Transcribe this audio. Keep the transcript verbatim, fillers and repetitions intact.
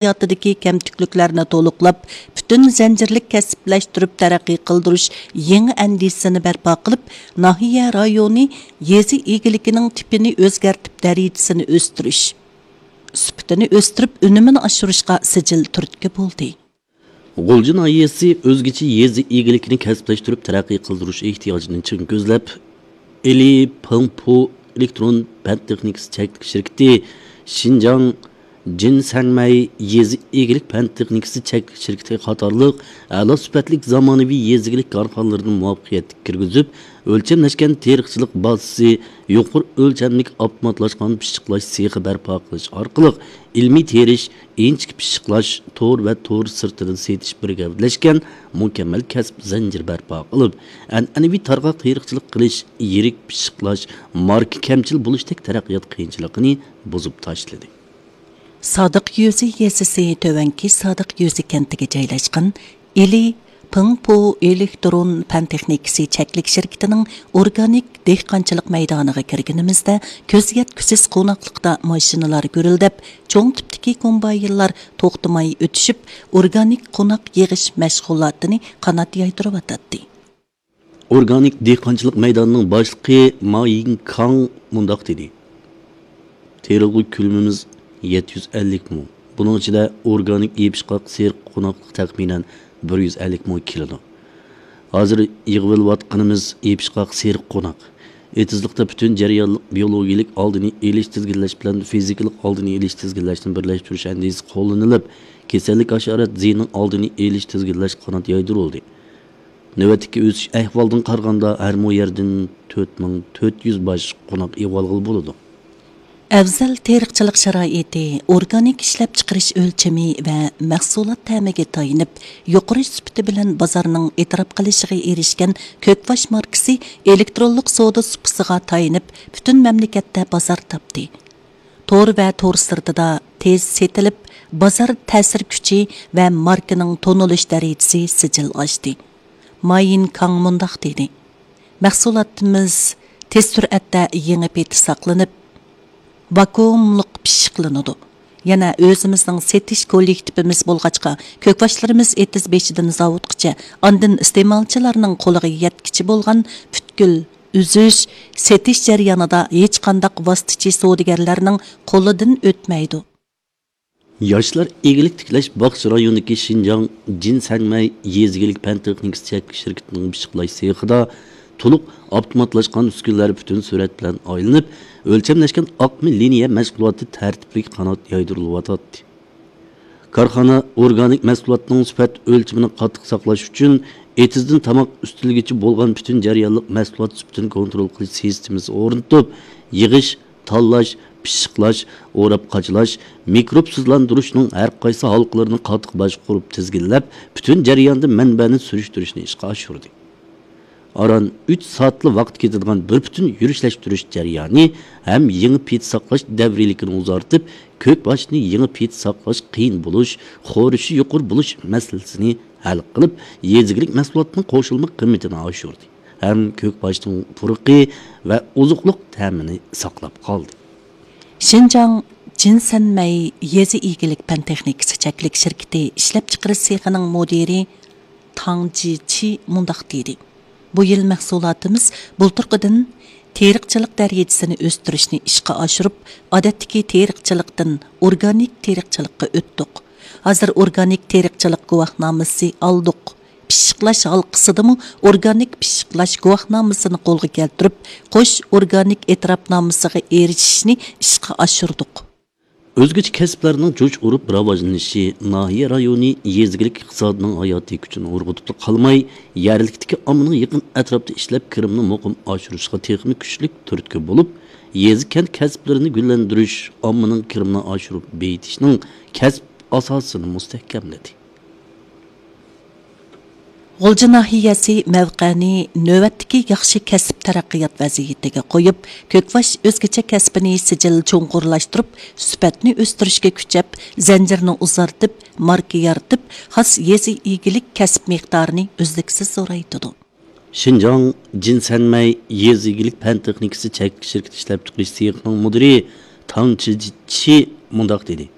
ھاياتىدىكى كەمتۈكلۈكلەرنى تولۇقلاپ، پۈتۈن زەنجىرلىك كەسىپلەشتۈرۈپ تەرەققىي قىلدۇرۇش يېڭى ئەندىزىسىنى بەرپا قىلىپ، ناھىيە رايونى يېزا ئىگىلىكىنىڭ تىپىنى ئۆزگەرتىپ، دەرىجىسىنى ئۆستۈرۈش، سۈپىتىنى ئۆستۈرۈپ، ئۈنۈمىنى ئاشۇرۇشقا سىجىل تۈرتكە بولدى. غۇلجا ناھىيەسى ئۆزگىچە يېزا ئىگىلىكىنى كەسىپلەشتۈرۈپ تەرەققىي قىلدۇرۇش ئېھتىياجىنى چىڭ كۆزلەپ، ئىلى پېڭپۇ ئېلېكترون پەن تېخنىكىسى چەكلىك شىركىتى، شىنجاڭ جىنسەنمەي يېزا ئىگىلىك پەن تېخنىكىسى چەكلىك شىركىتى قاتارلىق ئەلا سۈپەتلىك زامانىۋى يېزا ئىگىلىك كارخانىلىرىنى مۇۋەپپەقىيەتلىك كىرگۈزۈپ، ئۆلچەملەشكەن تېرىقچىلىق بازىسى، يۇقىرى ئۆلچەملىك ئاپتوماتلاشقان پىششىقلاش سېخى بەرپا قىلىش ئارقىلىق، ئىلمىي تېرىش، ئىنچىكە پىششىقلاش، تور ۋە تور سىرتىدىن سېتىش بىر گەۋدىلەشكەن مۇكەممەل كەسىپ زەنجىرى بەرپا قىلىپ، ئەنئەنىۋى تارقاق تېرىقچىلىق قىلىش، يىرىك پىششىقلاش، ماركا كەمچىل بولۇشتەك تەرەققىيات قىيىنچىلىقىنى بۇزۇپ تاشلىدى. سادىق يۈزى يېزىسى تۆۋەنكى سادىق يۈزى كەنتىگە جايلاشقان ئىلى پېڭپۇ ئېلېكترون پەن تېخنىكىسى چەكلىك شىركىتىنىڭ ئورگانىك دېھقانچىلىق مەيدانىغا كىرگىنىمىزدە، كۆز يەتكۈسىز قوناقلىقتا ماشىنىلار گۈرۈلدەپ، چوڭ تىپتىكى كومباينلار توختىماي ئۆتۈشۈپ، ئورگانىك قوناق يىغىش مەشغۇلاتىنى قانات يايدۇرۇۋاتاتتى. ئورگانىك دېھقانچىلىق مەيدانىنىڭ باشلىقى ما يىڭكاڭ مۇنداق دېدى: تېرىلغۇ كۆلىمىمىز يەتتە يۈز ئەللىك مو. بۇنىڭ ئىچىدە ئورگانىك يېپىشقاق سېرىق قوناقلىق تەخمىنەن بىر يۈز ئەللىك مو كېلىدۇ. ھازىر يىغىۋېلىۋاتقىنىمىز يېپىشقاق سېرىق قوناق. ئېتىزلىقتا پۈتۈن جەريانلىق بىيولوگىيەلىك ئالدىنى ئېلىش، تىزگىنلەش بىلەن فىزىكىلىق ئالدىنى ئېلىش، تىزگىنلەشنى بىرلەشتۈرۈش ئەندىزىسى قوللىنىلىپ، كېسەللىك ھاشارات زىيىنىنىڭ ئالدىنى ئېلىش، تىزگىنلەش قانات يايدۇرۇلدى. نۆۋەتتىكى ئۆسۈش ئەھۋالىدىن قارىغاندا، ھەر مو يەردىن تۆت مىڭ تۆت يۈز باش قوناق ئىگە ئالغىلى بولىدۇ. ئەۋزەل تېرىقچىلىق شارائىتى، ئورگانىك ئىشلەپچىقىرىش ئۆلچىمى ۋە مەھسۇلات تەمىگە تايىنىپ، يۇقىرى سۈپىتى بىلەن بازارنىڭ ئېتىراپ قىلىشىغا ئېرىشكەن كۆكباش ماركىسى ئېلېكترونلۇق سودا سۇپىسىغا تايىنىپ، پۈتۈن مەملىكەتتە بازار تاپتى. تور ۋە تور سىرتىدا تېز سېتىلىپ، بازار تەسىر كۈچى ۋە ماركىنىڭ تونۇلۇش دەرىجىسى سىجىل ئاشتى. ما يىنكاڭ مۇنداق دېدى: مەھسۇلاتىمىز تېز سۈرئەتتە يېڭى پېتى ساقلىنىپ، ۋاكۇئۇملۇق پىششىقلىنىدۇ. يەنە ئۆزىمىزنىڭ سېتىش كوللېكتىپىمىز بولغاچقا، كۆكباشلىرىمىز ئېتىز بېشىدىن زاۋۇتقىچە، ئاندىن ئىستېمالچىلارنىڭ قولىغا يەتكىچە بولغان پۈتكۈل ئۈزۈش، سېتىش جەريانىدا ھېچقانداق ۋاسىتىچى سودىگەرلەرنىڭ قولىدىن ئۆتمەيدۇ. ياشلار ئىگىلىك تىكلەش باغچە رايونىدىكى شىنجاڭ جىنسەنمەي يېزا ئىگىلىك پەن تېخنىكىسى چەكلىك شىركىتىنىڭ پىششىقلاش سېخىدا تولۇق ئاپتوماتلاشقان ئۈسكۈنىلەر پۈتۈن سۈرئەت بىلەن ئايلىنىپ، ئۆلچەملەشكەن ئاقما لىنىيە مەشغۇلاتى تەرتىپلىك قانات يايدۇرۇلۇۋاتاتتى. كارخانا ئورگانىك مەھسۇلاتنىڭ سۈپەت ئۆلچىمىنى قاتتىق ساقلاش ئۈچۈن، ئېتىزدىن تاماق ئۈستىلىگىچە بولغان پۈتۈن جەريانلىق مەھسۇلات سۈپىتىنى كونترول قىلىش سىستېمىسى ئورنىتىپ، يىغىش، تاللاش، پىششىقلاش، ئوراپ قاچىلاش، مىكروبسىزلاندۇرۇشنىڭ ھەر قايسى ھالقىلىرىنى قاتتىق باشقۇرۇپ تىزگىنلەپ، پۈتۈن جەرياندا مەنبەنى سۈرۈشتۈرۈشنى ئىشقا ئاشۇردى. ئاران ئۈچ سائەتلا ۋاقىت كېتىدىغان بىر پۈتۈن يۈرۈشلەشتۈرۈش جەريانى ھەم يېڭى پېتى ساقلاش دەۋرىيلىكىنى ئۇزارتىپ، كۆكباشنى يېڭى پېتى ساقلاش قىيىن بولۇش، خورىشى يۇقىرى بولۇش مەسىلىسىنى ھەل قىلىپ، يېزا ئىگىلىك مەھسۇلاتىنىڭ قوشۇلما قىممىتىنى ئاشۇردى ھەم كۆكباشنىڭ پۇرىقى ۋە ئوزۇقلۇق تەمىنى ساقلاپ قالدى. شىنجاڭ جىنسەنمەي يېزا ئىگىلىك پەن تېخنىكىسى چەكلىك شىركىتى ئىشلەپچىقىرىش سېخىنىڭ مۇدىرى تاڭ جىچى مۇنداق دېدى: بۇ يىل مەھسۇلاتىمىز بۇلتۇرقىدىن تېرىقچىلىق دەرىجىسىنى ئۆستۈرۈشنى ئىشقا ئاشۇرۇپ، ئادەتتىكى تېرىقچىلىقتىن ئورگانىك تېرىقچىلىققا ئۆتتۇق. ھازىر ئورگانىك تېرىقچىلىق گۇۋاھنامىسى ئالدۇق. پىششىقلاش ھالقىسىدىمۇ ئورگانىك پىششىقلاش گۇۋاھنامىسىنى قولغا كەلتۈرۈپ، قوش ئورگانىك ئېتىراپنامىسىغا ئېرىشىشنى ئىشقا ئاشۇردۇق. ئۆزگىچە كەسىپلەرنىڭ جۇش ئۇرۇپ راۋاجلىنىشى ناھىيە رايونى يېزا ئىگىلىك ئىقتىسادىنىڭ ھاياتىي كۈچىنى ئۇرغۇتۇپلا قالماي، يەرلىكتىكى ئاممىنىڭ يېقىن ئەتراپتا ئىشلەپ كىرىمىنى مۇقىم ئاشۇرۇشىغا تېخىمۇ كۈچلۈك تۈرتكە بولۇپ، يېزا، كەنت كەسىپلىرىنى گۈللەندۈرۈش، ئاممىنىڭ كىرىمىنى ئاشۇرۇپ بېيىتىشنىڭ كەسىپ ئاساسىنى مۇستەھكەملىدى. غۇلجا ناھىيەسى مەۋقەنى نۆۋەتتىكى ياخشى كەسىپ تەرەققىيات ۋەزىيىتىگە قويۇپ، كۆكباش ئۆزگىچە كەسپىنى سىجىل چوڭقۇرلاشتۇرۇپ، سۈپەتنى ئۆستۈرۈشكە كۈچەپ، زەنجىرنى ئۇزارتىپ، ماركا يارىتىپ، خاس يېزا ئىگىلىك كەسىپ مىقدارىنى ئۈزلۈكسىز زورايتىدۇ. شىنجاڭ جىنسەنمەي يېزا ئىگىلىك پەن تېخنىكىسى چەكلىك شىركىتى ئىشلەپچىقىرىش سېخىنىڭ مۇدىرى تاڭ چىچى مۇنداق دېدى: